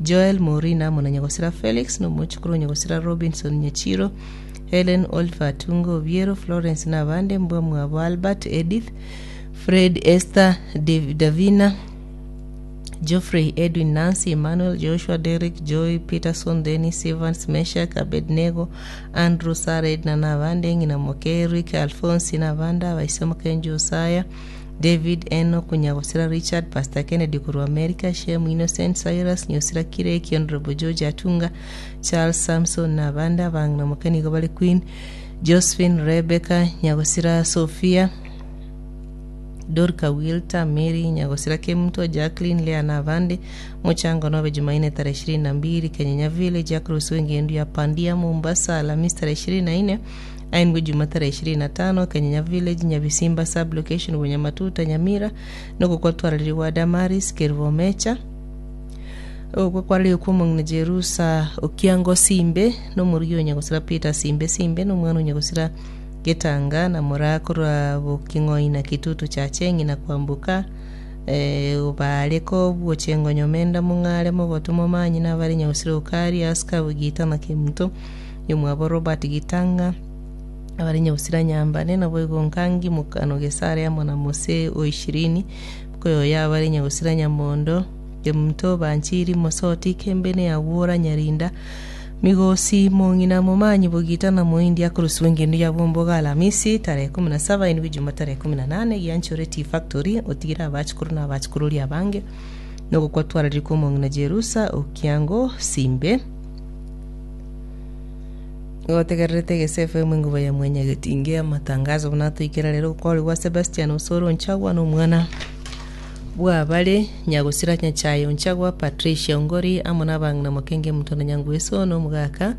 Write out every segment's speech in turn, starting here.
Joel Maureen amo na Nyagosira Felix, na omochokoro o Nyagosira Robinson Nyachiro, Hellen, Oliver Atunga Obiero, Florence na abande, mbwa mwabo Albert, Edith, Fred, Esther, Dav- Davina, Geoffrey, Edwin, Nancy, Emmanuel, Joshua, Derrick, Joy, Peterson, Dennis, Evans, Meshak, Abednego, Andrew, Sarah, Edna na abande, ng'ina moke Eric, Alphonse na abande, abaise moke Josiah, David, Enoch, Nyagosira Richard, Pastor Kennedy korwa America, Shem, Innocent, Cyrus, Nyosira Kireki, Honourable George Atunga, Charles, Samson na abande, abang'ina moke nigo bare Queen, Josephine, Rebecca, Nyagosira Sophia, Dorca, Wilta, Mary, Nyagosira Kemunto, Jacqueline, Leah na abande. Mochango nobe Jumaine tarehe ishirini na mbili, Kenyenya Village, Across engendu ya Pandia, Mombasa, Alhamisi tarehe 24, Aindwe Juma tarehe 25, Kenyenya Village, Nyabisimba Sub-location, Bunyamatuta, Nyamira, nokwo kwatwararigwa Damaris, Kerubo Mecha. Okwo kwararigwe kw'omong'ina Jerusa Okiango Simbe, na omorugi o Nyagosira Peter Simbe Simbe, na omwana o Nyagosira Getanga, na moraa korwa Boking'oi na Kitutu Chache, ng'ina Kwamboka, eh, obaare kobwocha engonyo menda mong'are mogotu momanyi nabare Nyagosira Okari, Aska, Bogita na Kemunto, Yomwabo Robert Gitang'a, abare Nyagosira Nyambane, naboigo Nkangi Mokano Gesare amo na Mose o Ishirini, Koyoyo abare Nyagosira Nyamondo, Kemunto, Banchiri, Mosoti, Kembene, Agwora, Nyarinda, Migosi, Mong'ina, Momanyi, Bogita na Moindi akorosigwa engendu ya Bwomboga Alamisi tarehe kumi na saba indwe Juma tarehe kumi na nane Gianchore Tea Factory otigire abachukuru na abachukururi abange nogokwa twararire kwa omong'ina Jerusa Okiango Simbe. Gotegererete Egese FM enguba ya mwanyagetinge amatangazo buna atoikera rero gokorigwa Sebastian Osoro Nchagwa na omwana bw'abare Nyagosira Nyachae Onchagwa Patricia Ongori amo na abang'ina Mokenge Muto na Nyangweso na omogaka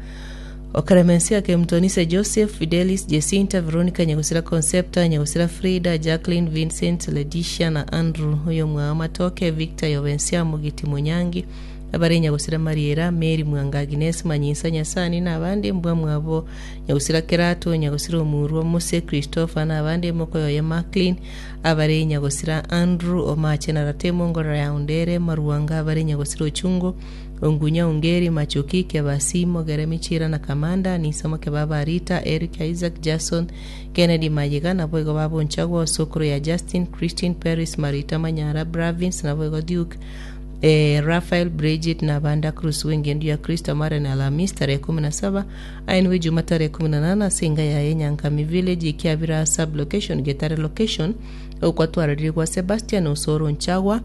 o Clemencia Kemtonise Joseph Fidelis Jacinta Veronica Nyagosira Concepta Nyagosira Frida Jacqueline Vincent Leticia na Andrew oyomwao Matoke Victor Yobensia Mogiti Monyangi Abare nyagusira Mariera, Meri mwanga Aginesi, Manyinsa Nyasani, na abande mbwa mwabo nyagusira Kerato, nyagusira Omurwa, Mose, Christopher, na abande emoko yoye Macklin, abare nyagusira Andrew, Omache na Ratemo, Ngorora ya Ondere, Maruanga, abare nyagusira Ochungo, Ongunya, Ongeri, Machoki, Kebasi, Mogere, Michira na Kamanda, Nisamo Kebaba, Rita, Eric, Isaac, Jason, Kennedy Mayega, naboigo babonchagwa, Osokoro ya Justin, Christine, Paris, Marita, Manyara, Bravins, naboigo Duke, Ee, Raphael, Bridget, na abande Cruz bw'engendu ya Kristo amare na Alhamisi tarehe kumi na saba, aye nigo Ijuma tarehe kumi na nane ase enga yaye Nyankami Village, Ekiabira Sub Location, Getare Location, ogokwa twararire gwa Sebastian Osoro Nchagwa,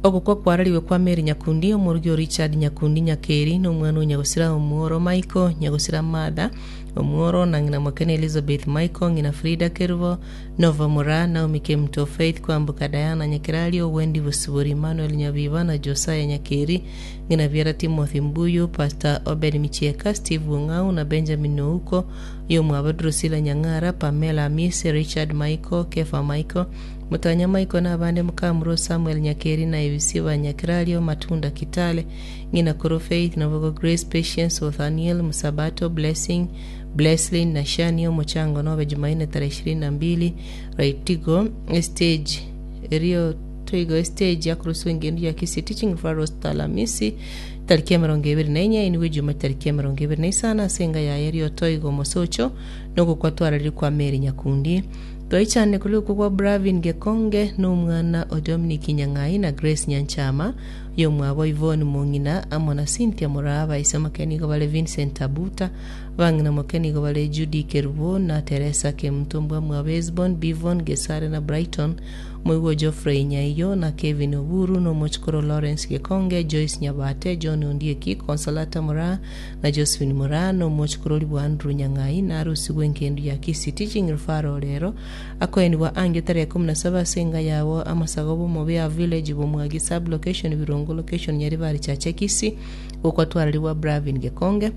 ogokwa kwarariwe kwa Mary Nyakundi, omorugi o Richard Nyakundi Nyakeri, na omwana o Nyagosira Omworo Michael, Nyagosira Martha, Omworo, na ng'ina mokene Elizabeth Michael, ng'ina Frida Kerubo, Nova Moraa, Naomi Kemunto, Faith Kwamboka, Diana Nyakerario, Wendy Bosibori, Emmanuel Nyabiba na Josiah Nyakeri, ng'ina biara Timothy Mbuyu, Pastor Obed Michieka, Steve Ong'au na Benjamin Ouko, oyomwabo Drusilla Nyang'ara, Pamela Amisi, Richard Michael, Kefa Michael, Motanya Michael na abande Mokamuro Samuel Nyakeri na Ebisiba Nyakerario, Matunda Kitale, ng'ina Koro Faith, Nabogo Grace, Patience, Othaniel, Musabato, Blessing, Blesslin na Shani omochango nobe Jumaine tarehe ishirini na mbili Raitigo estage erio toigo estage yakoroswa engendu ya Kisii Teaching Referral Hospital Alamisi tariki emerongo ebere na enye inwe Ijuma tariki emerongo ebere na isano ase enga yaye erio toigo omosocho nogokwa twararire kwa Mary Nyakundi Twaichane korwa okwo kwa Bravin Gekonge na omwana o Dominic Nyang'ai na Grace Nyanchama oyomwabo Yvonne Mong'ina amo na Cynthia Moraa baise moke nigo bare Vincent Abuta Abang'ina moke nigo bare Judy Kerubo na Teresa Kemunto mbwamwabo Hesbon, Bivon, Gesare na Brighton, omoigwa o Geoffrey Nyaiyo na Kevin Oburu, na omochokoro Lawrence Gekonge, Joyce Nyabate, John Ondieki, Consolata Moraa na Josephine Moraa, na omochokorori bwa Andrew Nyang'ai, na arusigwe engendu ya Kisii Teaching Referral rero akoenigwa angio tarehe kumi na saba ase enga yabo amasago b'Omobea Village, Bomwagi Sub-location, Birongo Location, Nyaribari Chache Kisii, gokwatwararigwa Bravin Gekonge.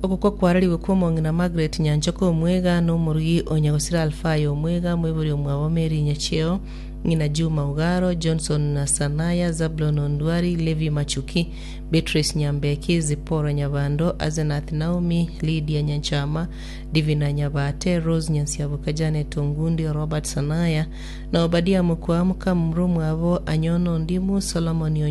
Ogokwa kwararigwe kw'omong'ina Margaret Nyanchoka Omwega na omorugi o Nyagosira Alfayo Omwega, moibori omwabo Mary Nyacheo, ng'ina Juma Ugaro, Johnson na Sanaya, Zablon Ondwari, Levi Machuki, Beatrice Nyambeki, Zipporah Nyabando, Asenath Naomi, Lydia Nyanchama, Divina Nyabate, Rose Nyansiaboka, Janet Ongundi, Robert Sanaya, na Obadia Mokwa, mokamura omwabo Anyono Ondimu, Solomon Onyo.